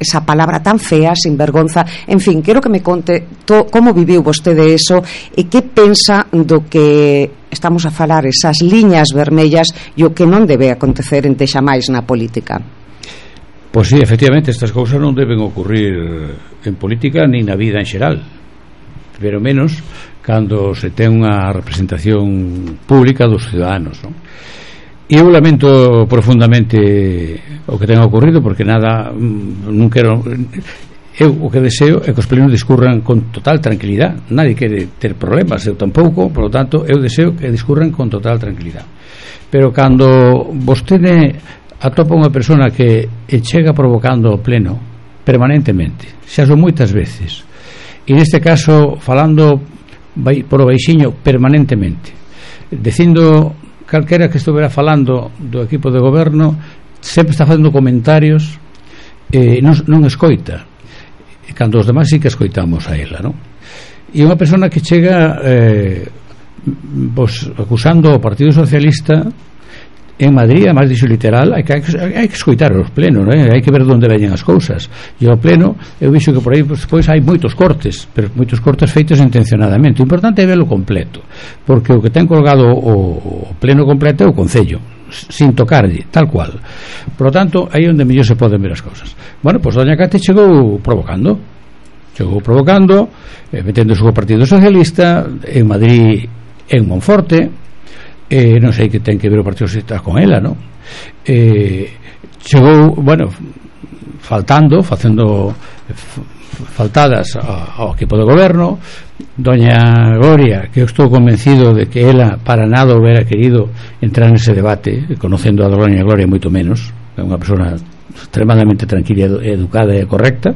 esa palabra tan fea, sinvergonza. En fin, quero que me conte como viviu vostede eso e que pensa do que estamos a falar, esas liñas vermellas e o que non debe acontecer ente xamais na política. Pois sí, efectivamente, estas cousas non deben ocurrir en política ni na vida en xeral, pero menos cando se ten unha representación pública dos ciudadanos, non? E eu lamento profundamente o que tenha ocurrido, porque nada, non quero, eu o que deseo é que os plenos discurran con total tranquilidade. Nadie quere ter problemas, eu tampouco, por lo tanto eu deseo que discurran con total tranquilidade. Pero cando vostede atopa unha persona que chega provocando o pleno permanentemente, xa son moitas veces, e neste caso falando por o baixiño permanentemente, dicindo calquera que estuvera falando do equipo de goberno, sempre está facendo comentarios, non escoita, cando os demais sí que escoitamos a ela, non? E unha persona que chega acusando o Partido Socialista en Madrid, además dixo literal, hai que escoitar os plenos, non? Hai que ver onde veñen as cousas, e o pleno eu vixo que por aí despois hai moitos cortes, pero moitos cortes feitos intencionadamente. O importante é verlo completo, porque o que ten colgado o pleno completo é o Concello, sin tocarlle, tal cual. Por lo tanto, aí onde mellor se poden ver as cousas. Bueno, pois doña Cate chegou provocando, metendo o Partido Socialista en Madrid, en Monforte. Non sei que ten que ver o Partido Socialista con ela, non? Chegou, bueno, facendo faltadas ao equipo de goberno. Doña Gloria, que eu estou convencido de que ela para nada hubiera querido entrar nese debate, conocendo a doña Gloria moito menos, é unha persona extremadamente tranquila, educada e correcta.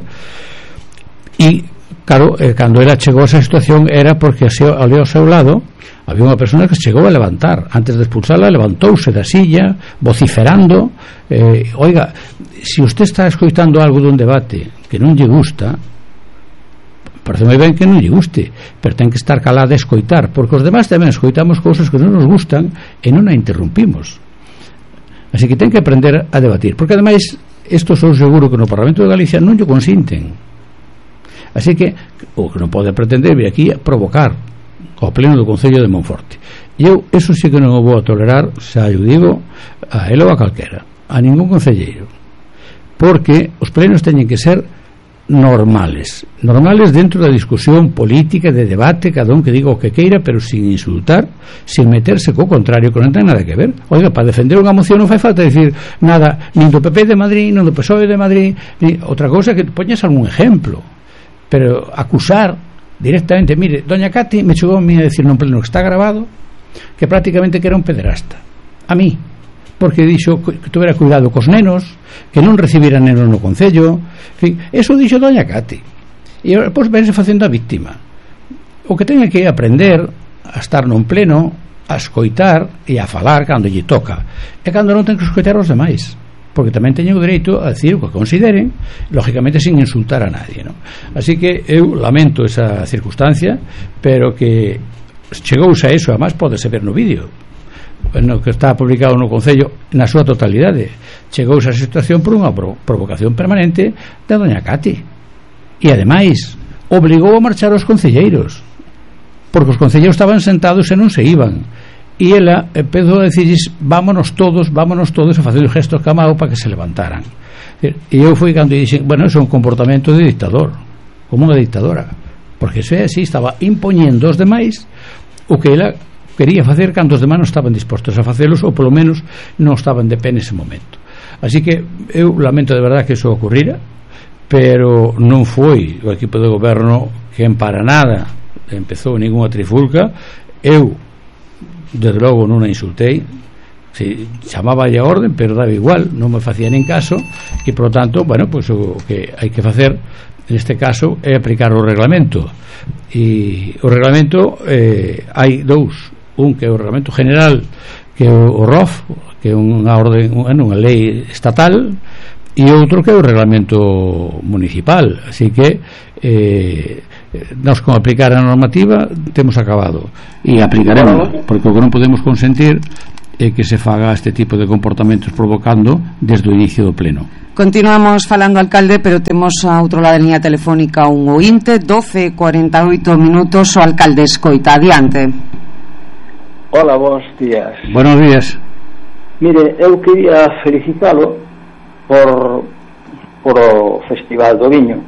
E claro, cando ela chegou a esa situación era porque ali ao seu lado había unha persona que se chegou a levantar. Antes de expulsarla, levantouse da silla vociferando, oiga, se usted está escoitando algo dun debate que non lle gusta, parece moi ben que non lle guste, pero ten que estar calada e escoitar, porque os demás tamén escoitamos cousas que non nos gustan e non a interrumpimos. Así que ten que aprender a debatir, porque ademais isto sou seguro que no Parlamento de Galicia non lle consinten. Así que o que non pode pretender vir aquí a provocar ao pleno do Concello de Monforte. E eu, eso sí que non o vou a tolerar, xa eu digo, a ele ou a calquera, a ningún concelleiro, porque os plenos teñen que ser normales dentro da discusión política, de debate, cada un que diga o que queira, pero sin insultar, sin meterse co contrario, que non ten nada que ver. Oiga, para defender unha moción non fai falta decir nada, nin do PP de Madrid, nin do PSOE de Madrid, ni outra cousa, que poñas algún ejemplo, pero acusar directamente, mire, doña Cati me chegou a mí a decir nun pleno que está grabado que prácticamente que era un pederasta a mí, porque dixo que tuvera cuidado cos nenos, que non recibiran nenos no Concello, en fin, eso dixo doña Cati, e depois vense facendo a víctima. O que ten que aprender a estar nun pleno, a escoitar e a falar cando lle toca, e cando non ten que escoitar os demais, porque tamén teñen o dereito a decir o que consideren, lógicamente sin insultar a nadie, ¿no? Así que eu lamento esa circunstancia, pero que chegouse a eso, además podese ver no vídeo no que está publicado no Concello na súa totalidade. Chegouse a situación por unha provocación permanente da doña Cati, e ademais obligou a marchar os concelleiros, porque os concelleiros estaban sentados e non se iban. E ela empezou a decirles vámonos todos, e facer gestos camao para que se levantaran. E eu fui cando dixen, bueno, eso é un comportamento de dictador, como unha dictadora, porque eso é así, estaba impoñendo aos demais o que ela quería facer cando os demais non estaban dispostos a facelos, ou polo menos non estaban de pé nese momento. Así que eu lamento de verdade que eso ocurrira, pero non foi o equipo de goberno que en para nada empezou ninguna trifulca. Eu desde logo non a insultei, chamaba a orden, pero daba igual, non me facía nin caso, e por lo tanto, bueno, pues o que hai que facer neste caso é aplicar o reglamento. E o reglamento hai dous, un que é o reglamento general, que é o ROF, que é unha orden, unha lei estatal, e outro que é o reglamento municipal. Así que nós con aplicar a normativa temos acabado, e aplicaremos, porque o que non podemos consentir é que se faga este tipo de comportamentos provocando desde o inicio do pleno. Continuamos falando, alcalde, pero temos a outro lado da liña telefónica un ointe. 12:48 minutos. O alcalde escoita, adiante. Hola, bons días. Buenos días. Mire, eu quería felicitalo por o Festival do Viño.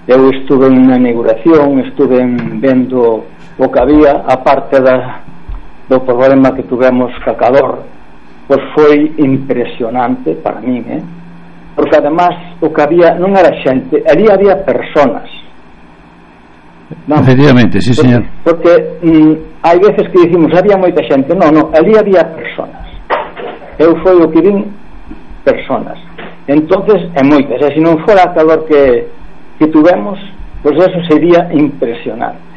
Eu estuve na inauguración, estuve vendo o que había, a parte do problema que tuvemos ca calor, pois foi impresionante para min, porque además o que había non era xente, ali había personas. Non, efectivamente, sí, señor. Porque hai veces que dicimos había moita xente, non, ali había personas. Eu foi o que vin, personas. Entonces, é moitas, e se non fora a calor que tuvemos, pois eso sería impresionante.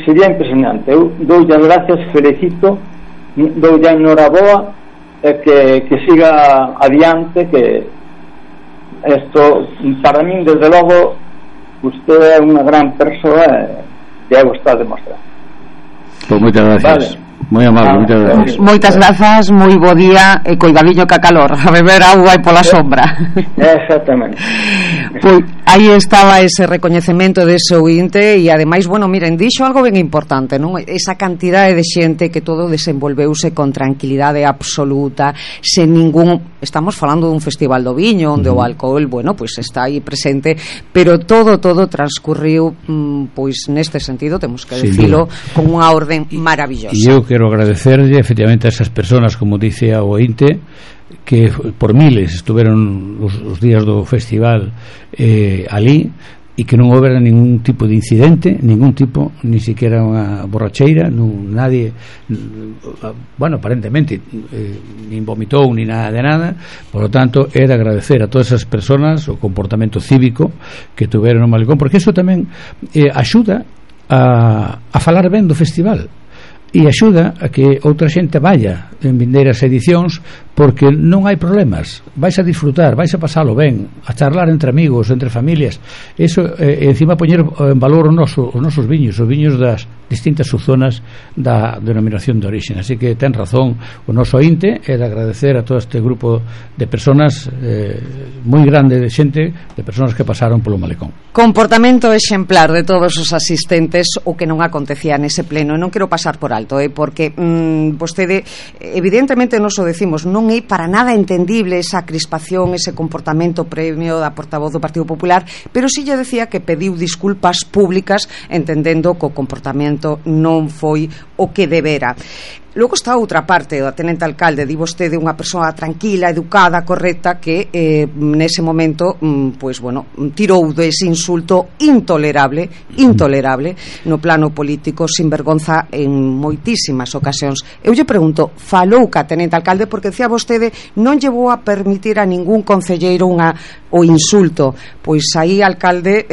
Sería impresionante. Eu doulle as gracias, felicito, doulle a enhoraboa, que siga adiante, que isto, para min, desde logo, usted é unha gran persoa, e eu está a demostrar. Pois moitas gracias. Vale. Moi amable, moitas gracias. Moitas grazas, moi bo día, e coidadiño ca calor, a beber auga e pola sombra. Exactamente. Pois aí estaba ese recoñecemento dese ointe, e ademais, bueno, miren, dixo algo ben importante, non? Esa cantidade de xente que todo desenvolveuse con tranquilidade absoluta, sen ningún, estamos falando dun festival do viño onde o alcohol, bueno, pois está aí presente, pero todo transcurriu pois neste sentido, temos que decilo, con unha orden maravillosa. E eu quero agradecerlle efectivamente a esas personas, como dice a ointe, que por miles estuveron os días do festival ali, e que non houbera ningún tipo de incidente, ningún tipo, ni siquiera unha borracheira, nadie, bueno, aparentemente nin vomitou ni nada de nada. Por lo tanto, é de agradecer a todas esas personas o comportamento cívico que tuveron no Malecón, porque iso tamén axuda a falar ben do festival, e axuda a que outra xente vaya en vindeiras edicións, porque non hai problemas, vais a disfrutar, vais a pasalo ben, a charlar entre amigos, entre familias. Eso, encima poñer en valor os nosos viños, os viños das distintas subzonas da denominación de origen. Así que ten razón o noso ointe, é de agradecer a todo este grupo de personas moi grande de xente, de personas que pasaron polo Malecón. Comportamento exemplar de todos os asistentes, o que non acontecía nese pleno. Non quero pasar por alto, porque vostede, evidentemente nos o decimos, non é para nada entendible esa crispación, ese comportamento previo da portavoz do Partido Popular, pero si lle decía que pediu disculpas públicas, entendendo que o comportamento non foi o que debera. Logo está outra parte, o tenente alcalde, di vostede unha persoa tranquila, educada, correcta, que nese momento, pois bueno, tirou dese insulto intolerable no plano político, sin vergonza en moitísimas ocasións. Eu lle pregunto, falou ca tenente alcalde, porque decía vostede non lle vou a permitir a ningún concelleiro o insulto. Pois aí, alcalde,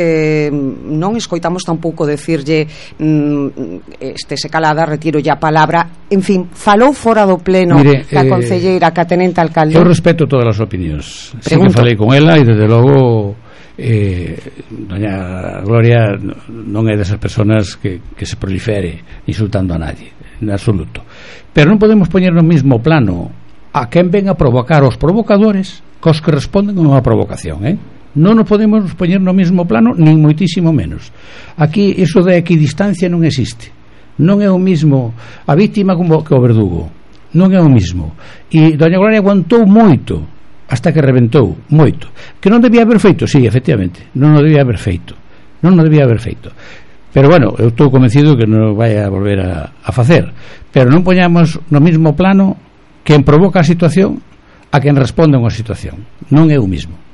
non escoitamos tampouco decirlle se calada, retiro ya a palabra. En fin, falou fora do pleno. Mire, ca concelleira, ca tenente alcalde. Eu respeto todas as opinións. Sí que falei con ela, e desde logo doña Gloria non é desas persoas que se prolifere insultando a nadie, en absoluto. Pero non podemos poñer no mismo plano a quen ven a provocar os provocadores cos que responden a unha provocación, non nos podemos poñer no mesmo plano, nin moitísimo menos. Aquí iso de equidistancia non existe. Non é o mismo a víctima como que o verdugo, non é o mismo. E doña Gloria aguantou moito hasta que reventou, moito. Que non debía haber feito, sí, efectivamente, non o debía haber feito, pero bueno, eu estou convencido que non vai a volver a facer. Pero non poñamos no mesmo plano quen provoca a situación a quen responde a unha situación. Non é o mismo.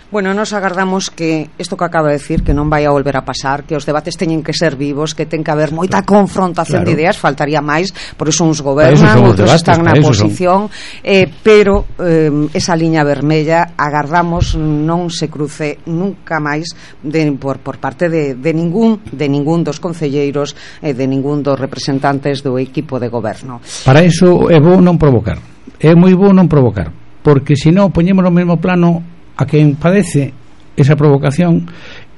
Bueno, nos agardamos que isto que acaba de decir, que non vai a volver a pasar, que os debates teñen que ser vivos, que ten que haber moita confrontación de ideas, faltaría máis, por iso uns gobernan, outros están na oposición, pero esa liña vermella agardamos non se cruce nunca máis por parte de ningún dos concelleiros, de ningún dos representantes do equipo de goberno. Para iso é bo non provocar, é moi bo non provocar, porque senón poñemos no mesmo plano a quen padece esa provocación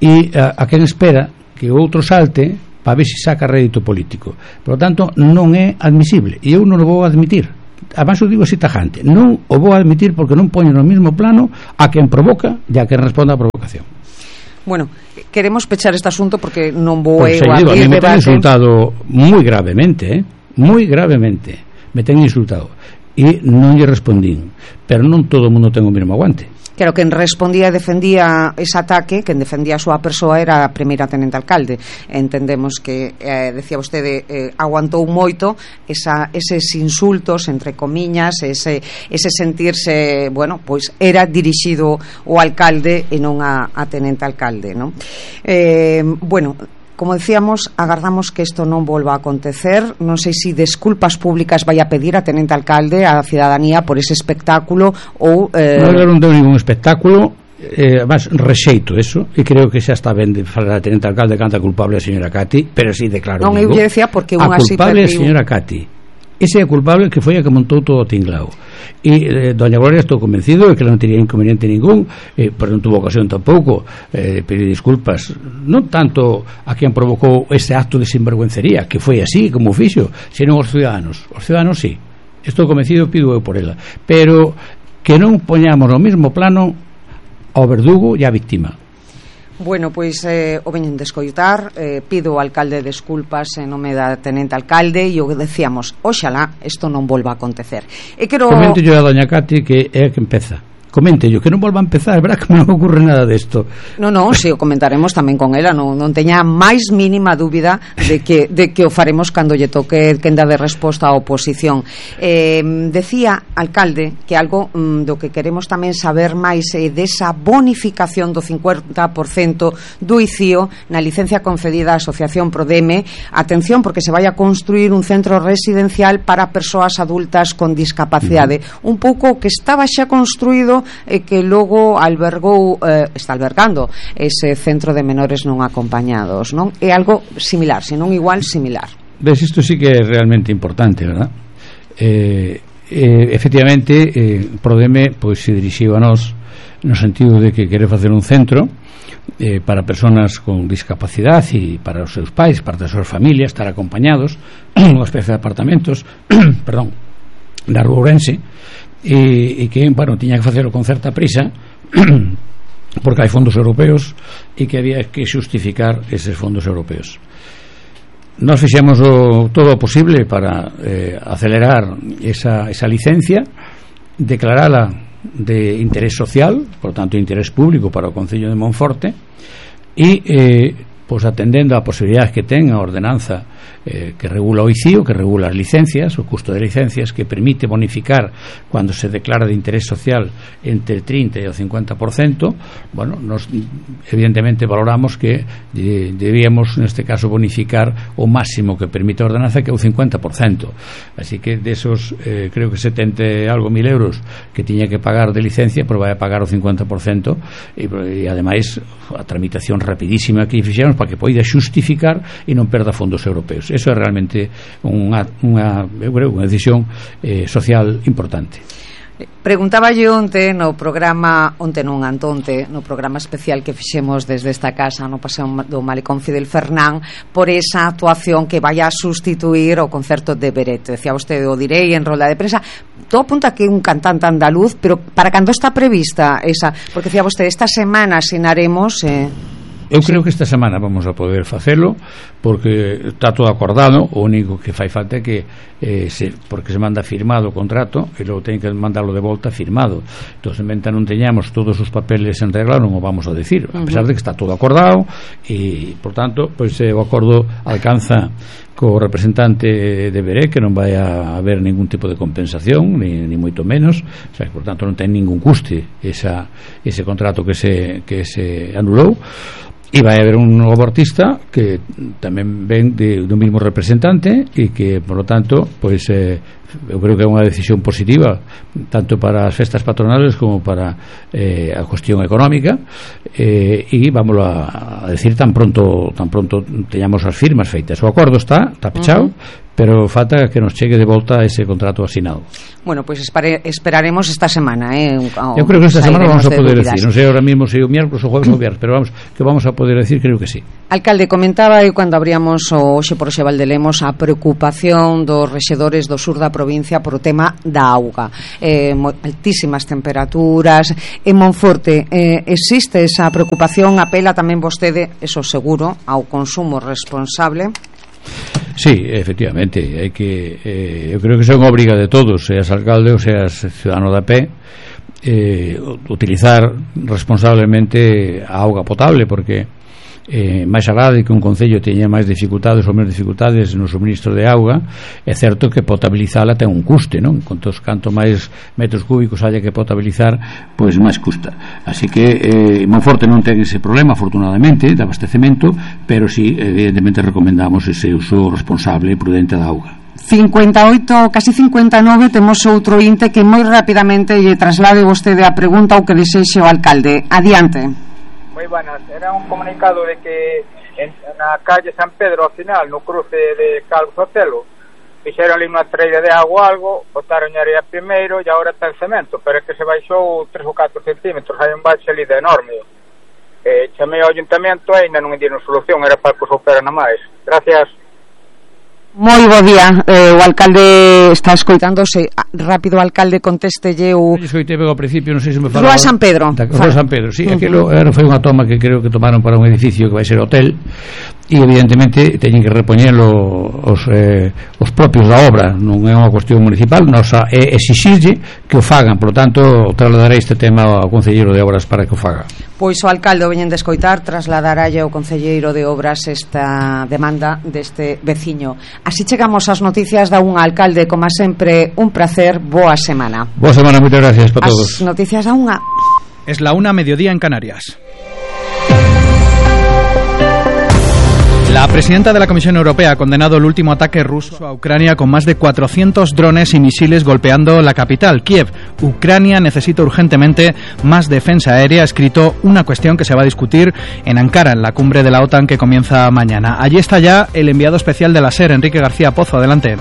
e a quen espera que o outro salte para ver se saca rédito político. Por lo tanto, non é admisible, e eu non o vou admitir. Además, o digo así tajante, non o vou admitir porque non poño no mesmo plano a quen provoca e a quen responde á provocación. Bueno, queremos pechar este asunto porque non vou a mí me ten insultado moi gravemente, moi gravemente me ten insultado e non lle respondín, pero non todo o mundo ten o mesmo aguante. Claro, quen respondía e defendía ese ataque, quen defendía a súa persoa era a primeira tenente alcalde. Entendemos que, decía vostede, aguantou moito eses insultos, entre comiñas, ese sentirse, bueno, pois era dirixido o alcalde e non a tenente alcalde, non? Bueno, como decíamos, agardamos que isto non volva a acontecer. Non sei se desculpas públicas vai a pedir a tenente alcalde á cidadanía por ese espectáculo ou... Non deu ningún espectáculo, además rexeito eso, e creo que xa está ben de falar a tenente alcalde canta culpable a señora Cati, pero si declaro non, eu lle decía porque a culpable a señora Cati. Ese é o culpable, que foi a que montou todo o tinglao. E doña Gloria, estou convencido de que non teria inconveniente ningún, pero non tuvo ocasión tampouco pedir disculpas, non tanto a quen provocou ese acto de sinvergüencería, que foi así como fixo, senón os ciudadanos. Os ciudadanos sí, estou convencido, pido eu por ela, pero que non poñamos no mesmo plano ao verdugo e á víctima. Bueno, pois o veñen de escoitar, pido ao alcalde desculpas en nome da tenente alcalde e o que decíamos, oxalá isto non volva a acontecer. E quero... Comente yo a doña Cati que é a que empeza. Comente yo, que non volva a empezar, verá que non ocorre nada desto. Non, si o comentaremos tamén con ela, non teña máis mínima dúbida de que o faremos cando lle toque quen dá de resposta á oposición. Decía, alcalde, que algo do que queremos tamén saber máis é desa bonificación do 50% do ICIO na licencia concedida á Asociación Prodeme. Atención, porque se vai a construir un centro residencial para persoas adultas con discapacidade. Un pouco que estaba xa construído e que logo está albergando ese centro de menores non acompañados, non? É algo similar, se non igual, similar. Ves, isto sí que é realmente importante, verdad? Efectivamente, Prodeme pois se dirixiu a nós no sentido de que quere facer un centro para persoas con discapacidade e para os seus pais, para as súas familias, estar acompañados, unha especie de apartamentos perdón, da Rúa Ourense, e que, bueno, tiña que facelo con certa prisa porque hai fondos europeos e que había que xustificar eses fondos europeos. Nós fixemos todo o posible para acelerar esa licencia, declarala de interés social, por tanto interés público para o Concello de Monforte, e pois atendendo a posibilidades que ten a ordenanza que regula o ICIO, que regula as licencias, o custo de licencias, que permite bonificar cando se declara de interés social entre el 30 e o 50%. Bueno, nos evidentemente valoramos que debíamos neste caso bonificar o máximo que permite a ordenanza, que é o 50%. Así que desos creo que 70 algo mil euros que tiña que pagar de licencia, pois vai a pagar o 50%, e ademais a tramitación rapidísima que fixemos para que poida xustificar e non perda fondos europeos. Eso é realmente unha decisión social importante. Preguntaba yo onte no programa no programa especial que fixemos desde esta casa no Paseo do Malecón Fidel Fernán, por esa actuación que vai a sustituir o concerto de Beret. Decía vostede, o direi en rolda de prensa, todo apunta que é un cantante andaluz, pero para cando está prevista esa, porque decía vostede, esta semana asinaremos eu creo que esta semana vamos a poder facelo, porque está todo acordado. O único que fai falta é que porque se manda firmado o contrato e logo ten que mandarlo de volta firmado. Entón, mentre non teñamos todos os papeles en regla, non o vamos a decir, a pesar de que está todo acordado, e por tanto pois o acordo alcanza co representante de Beret, que non vai a haber ningún tipo de compensación, ni moito menos, o sea, por tanto non ten ningún custe ese contrato que se anulou. E vai haber un novo artista que tamén ven do mesmo representante, e que, por lo tanto, pois eu creo que é unha decisión positiva tanto para as festas patronales como para a cuestión económica, e vamos a decir tan pronto teñamos as firmas feitas. O acordo está pechado, pero falta que nos chegue de volta ese contrato asinado. Bueno, pues esperaremos esta semana, yo creo que esta semana vamos a poder decir, non sei ahora mismo se o miércoles ou jueves ou viernes, pero vamos, que vamos a poder decir, creo que sí. Alcalde, comentaba eu cando abríamos hoxe por Xe Valdelemos a preocupación dos rexedores do sur da provincia por o tema da auga, altísimas temperaturas en Monforte. Existe esa preocupación? Apela tamén vostede, eso seguro, ao consumo responsable? Sí, efectivamente, hai que eu creo que son obriga de todos, seas alcalde ou seas ciudadano da pé, utilizar responsablemente a auga potable, porque máis alá de que un concello teña máis dificultades ou menos dificultades no suministro de auga, é certo que potabilizala ten un custe, non? Canto máis metros cúbicos haya que potabilizar, pois máis custa. Así que Monforte non ten ese problema, afortunadamente, de abastecemento, pero sí, evidentemente recomendamos ese uso responsable e prudente da auga. 58, casi 59, temos outro inte que moi rapidamente lle traslade vostede a pregunta ou que desexe o alcalde. Adiante. Moi buenas, era un comunicado de que na calle San Pedro ao final, no cruce de Calvo Sotelo, fixeron ali unha treira de agua algo, botaron area primeiro e agora está en cemento, pero é que se baixou 3 ou 4 centímetros, hai un baixo ali de enorme. Chamei ao ayuntamento e ainda non dieron solución, era para que os operan a máis. Gracias. Moi bo día, o alcalde está escoitándose. Rápido, alcalde, contéstelle o... Escoitei ao principio, non sei se me falaba... Rúa San Pedro. Rúa San Pedro, sí, aquilo foi unha toma que creo que tomaron para un edificio que vai ser hotel, e evidentemente teñen que repoñelo os propios da obra, non é unha cuestión municipal, nosa é exixirlle que o fagan, por lo tanto trasladarei este tema ao concelleiro de obras para que o faga. Pois o alcalde o veñen de escoitar, trasladará ao concelleiro de obras esta demanda deste veciño. Así chegamos ás noticias da un alcalde, como sempre, un placer, boa semana. Boa semana, moitas gracias para todos. As noticias da unha. Es la 1:00 mediodía en Canarias. La presidenta de la Comisión Europea ha condenado el último ataque ruso a Ucrania con más de 400 drones y misiles golpeando la capital, Kiev. Ucrania necesita urgentemente más defensa aérea, ha escrito una cuestión que se va a discutir en Ankara, en la cumbre de la OTAN que comienza mañana. Allí está ya el enviado especial de la SER, Enrique García Pozo. Adelante.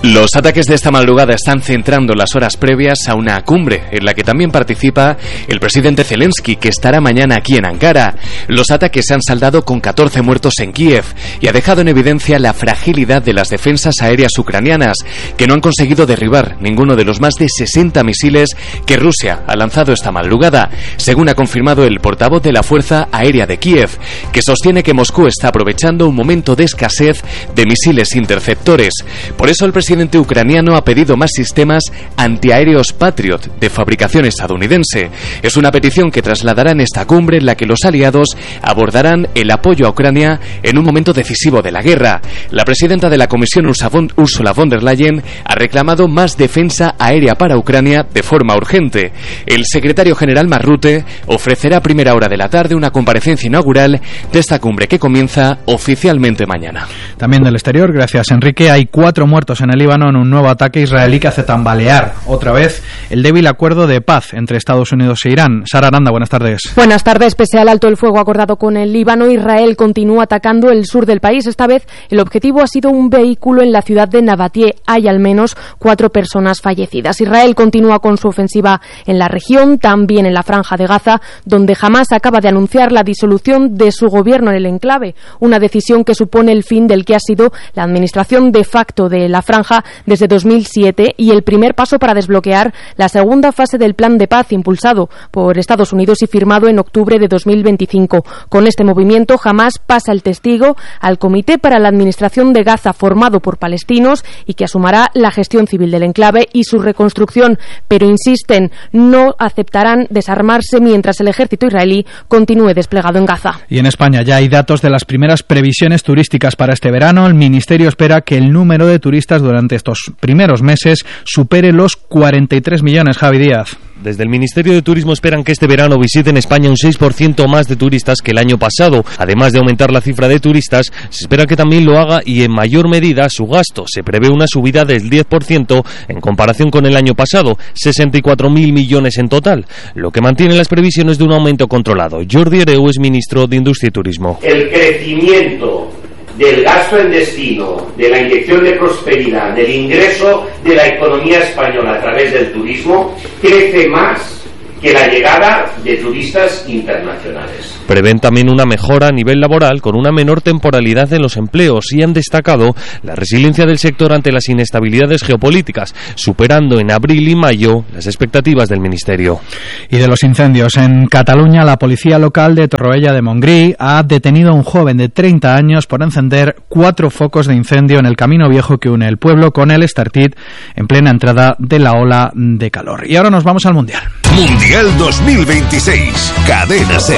Los ataques de esta madrugada están centrando las horas previas a una cumbre en la que también participa el presidente Zelensky, que estará mañana aquí en Ankara. Los ataques se han saldado con 14 muertos en Kiev y ha dejado en evidencia la fragilidad de las defensas aéreas ucranianas, que no han conseguido derribar ninguno de los más de 60 misiles que Rusia ha lanzado esta madrugada, según ha confirmado el portavoz de la Fuerza Aérea de Kiev, que sostiene que Moscú está aprovechando un momento de escasez de misiles interceptores. Por eso el presidente ucraniano ha pedido más sistemas antiaéreos Patriot de fabricación estadounidense. Es una petición que trasladará en esta cumbre en la que los aliados abordarán el apoyo a Ucrania en un momento decisivo de la guerra. La presidenta de la Comisión, Ursula von der Leyen, ha reclamado más defensa aérea para Ucrania de forma urgente. El secretario general Mark Rutte ofrecerá a primera hora de la tarde una comparecencia inaugural de esta cumbre que comienza oficialmente mañana. También del exterior, gracias Enrique, hay 4 muertos en el Líbano en un nuevo ataque israelí que hace tambalear otra vez el débil acuerdo de paz entre Estados Unidos e Irán. Sara Aranda, buenas tardes. Buenas tardes. Pese al alto el fuego acordado con el Líbano, Israel continúa atacando el sur del país. Esta vez el objetivo ha sido un vehículo en la ciudad de Nabatie. Hay al menos 4 personas fallecidas. Israel continúa con su ofensiva en la región, también en la Franja de Gaza, donde Hamás acaba de anunciar la disolución de su gobierno en el enclave, una decisión que supone el fin del que ha sido la administración de facto de la Franja desde 2007 y el primer paso para desbloquear la segunda fase del plan de paz impulsado por Estados Unidos y firmado en octubre de 2025. Con este movimiento, Hamás pasa el testigo al Comité para la Administración de Gaza, formado por palestinos y que asumirá la gestión civil del enclave y su reconstrucción, pero insisten, no aceptarán desarmarse mientras el ejército israelí continúe desplegado en Gaza. Y en España ya hay datos de las primeras previsiones turísticas para este verano. El Ministerio espera que el número de turistas durante estos primeros meses supere los 43 millones. Javi Díaz. Desde el Ministerio de Turismo esperan que este verano visiten España un 6% más de turistas que el año pasado. Además de aumentar la cifra de turistas, se espera que también lo haga y en mayor medida su gasto. Se prevé una subida del 10% en comparación con el año pasado, 64.000 millones en total, lo que mantiene las previsiones de un aumento controlado. Jordi Hereu es ministro de Industria y Turismo. El crecimiento del gasto en destino, de la inyección de prosperidad, del ingreso de la economía española a través del turismo, crece más que la llegada de turistas internacionales. Prevén también una mejora a nivel laboral con una menor temporalidad en los empleos y han destacado la resiliencia del sector ante las inestabilidades geopolíticas, superando en abril y mayo las expectativas del Ministerio. Y de los incendios en Cataluña, la policía local de Torroella de Montgrí ha detenido a un joven de 30 años por encender 4 focos de incendio en el camino viejo que une el pueblo con el Estartit en plena entrada de la ola de calor. Y ahora nos vamos al Mundial. Mundial 2026, Cadena SER.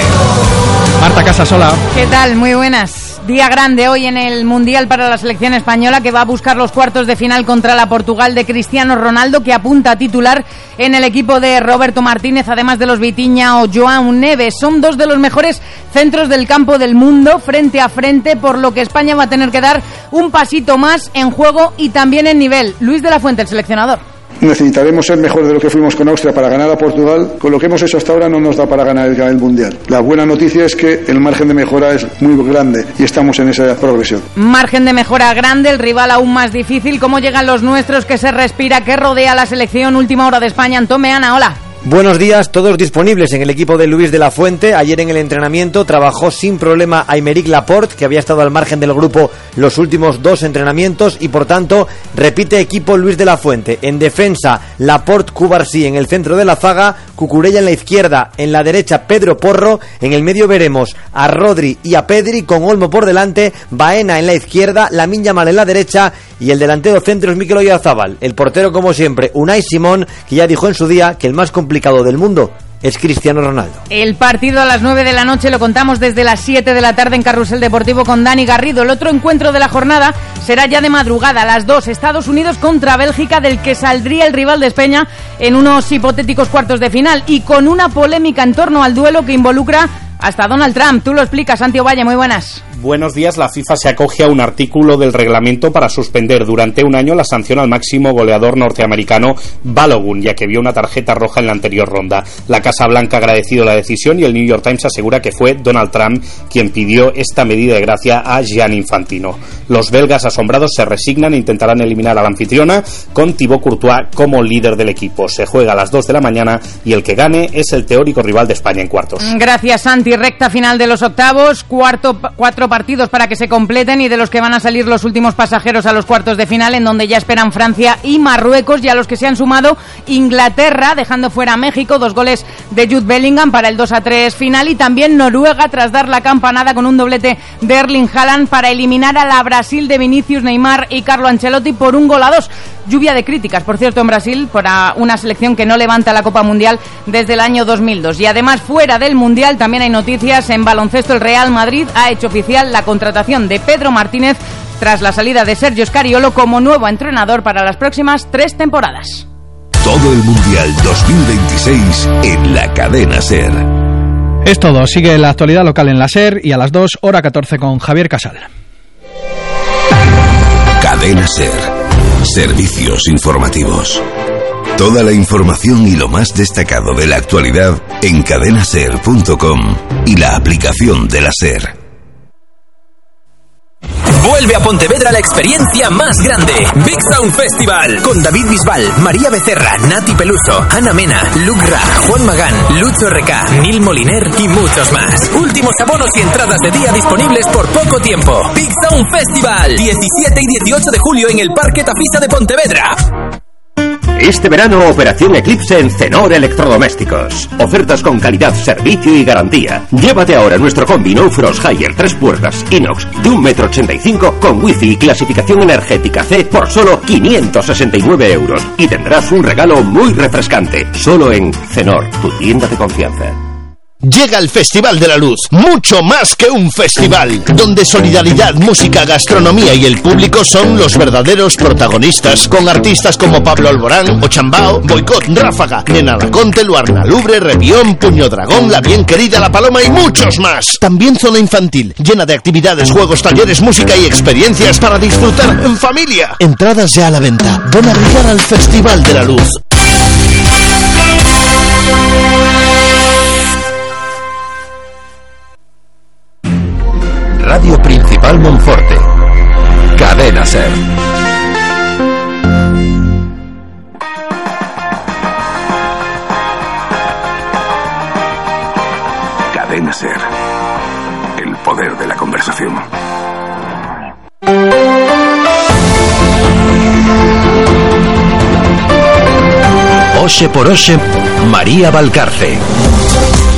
Marta Casasola. ¿Qué tal? Muy buenas. Día grande hoy en el Mundial para la selección española, que va a buscar los cuartos de final contra la Portugal de Cristiano Ronaldo, que apunta a titular en el equipo de Roberto Martínez, además de los Vitinha o João Neves. Son 2 de los mejores centros del campo del mundo, frente a frente, por lo que España va a tener que dar un pasito más en juego y también en nivel. Luis de la Fuente, el seleccionador. Necesitaremos ser mejor de lo que fuimos con Austria para ganar a Portugal. Con lo que hemos hecho hasta ahora no nos da para ganar el Mundial. La buena noticia es que el margen de mejora es muy grande y estamos en esa progresión. Margen de mejora grande, el rival aún más difícil. ¿Cómo llegan los nuestros? ¿Qué se respira? ¿Qué rodea la selección? Última hora de España. Antón Meana, hola. Buenos días, todos disponibles en el equipo de Luis de la Fuente. Ayer en el entrenamiento trabajó sin problema Aymeric Laporte, que había estado al margen del grupo los últimos 2 entrenamientos y por tanto repite equipo Luis de la Fuente. En defensa, Laporte, Cubarsí en el centro de la zaga, Cucurella en la izquierda, en la derecha Pedro Porro, en el medio veremos a Rodri y a Pedri con Olmo por delante, Baena en la izquierda, Lamine Yamal en la derecha y el delantero centro es Mikel Oyarzabal. El portero, como siempre, Unai Simón, que ya dijo en su día que el más complicado del mundo es Cristiano Ronaldo. El partido a las 9 de la noche lo contamos desde las 7 de la tarde en Carrusel Deportivo con Dani Garrido. El otro encuentro de la jornada será ya de madrugada, a las 2, Estados Unidos contra Bélgica, del que saldría el rival de España en unos hipotéticos cuartos de final y con una polémica en torno al duelo que involucra hasta Donald Trump. Tú lo explicas, Santi Ovalle, muy buenas. Buenos días. La FIFA se acoge a un artículo del reglamento para suspender durante un año la sanción al máximo goleador norteamericano Balogun, ya que vio una tarjeta roja en la anterior ronda. La Casa Blanca ha agradecido la decisión y el New York Times asegura que fue Donald Trump quien pidió esta medida de gracia a Gianni Infantino. Los belgas asombrados se resignan e intentarán eliminar a la anfitriona con Thibaut Courtois como líder del equipo. Se juega a las 2 de la mañana y el que gane es el teórico rival de España en cuartos. Gracias, Santi. Recta final de los octavos, 4 partidos para que se completen y de los que van a salir los últimos pasajeros a los cuartos de final, en donde ya esperan Francia y Marruecos, y a los que se han sumado Inglaterra, dejando fuera a México, 2 goles de Jude Bellingham para el 2-3 final, y también Noruega tras dar la campanada con un doblete de Erling Haaland para eliminar a la Brasil de Vinicius, Neymar y Carlo Ancelotti por 1-2. Lluvia de críticas, por cierto, en Brasil, para una selección que no levanta la Copa Mundial desde el año 2002. Y además, fuera del Mundial, también hay noticias en baloncesto. El Real Madrid ha hecho oficial la contratación de Pedro Martínez tras la salida de Sergio Scariolo como nuevo entrenador para las próximas 3 temporadas. Todo el Mundial 2026 en la Cadena SER. Es todo. Sigue la actualidad local en la SER y a las 2, hora 14 con Javier Casal. Cadena SER. Servicios informativos. Toda la información y lo más destacado de la actualidad en cadenaser.com y la aplicación de la SER. Vuelve a Pontevedra la experiencia más grande, Big Sound Festival, con David Bisbal, María Becerra, Nati Peluso, Ana Mena, Luke Ra, Juan Magán, Lucho RK, Nil Moliner y muchos más. Últimos abonos y entradas de día disponibles por poco tiempo. Big Sound Festival, 17 y 18 de julio en el Parque Tafisa de Pontevedra. Este verano, Operación Eclipse en Cenor Electrodomésticos. Ofertas con calidad, servicio y garantía. Llévate ahora nuestro combi No Frost Higher 3 puertas inox de 1,85 m con wifi y clasificación energética C por solo 569 euros. Y tendrás un regalo muy refrescante. Solo en Cenor, tu tienda de confianza. Llega el Festival de la Luz, mucho más que un festival, donde solidaridad, música, gastronomía y el público son los verdaderos protagonistas, con artistas como Pablo Alborán, Ochambao, Boicot, Ráfaga, Nena Laconte, Luarna Lubre, Revión, Puño Dragón, La Bien Querida, La Paloma y muchos más. También zona infantil, llena de actividades, juegos, talleres, música y experiencias para disfrutar en familia. Entradas ya a la venta. Ven a brillar al Festival de la Luz. Radio Principal Monforte SER. Cadena SER. El poder de la conversación. Oxe por Oxe, María Valcarce.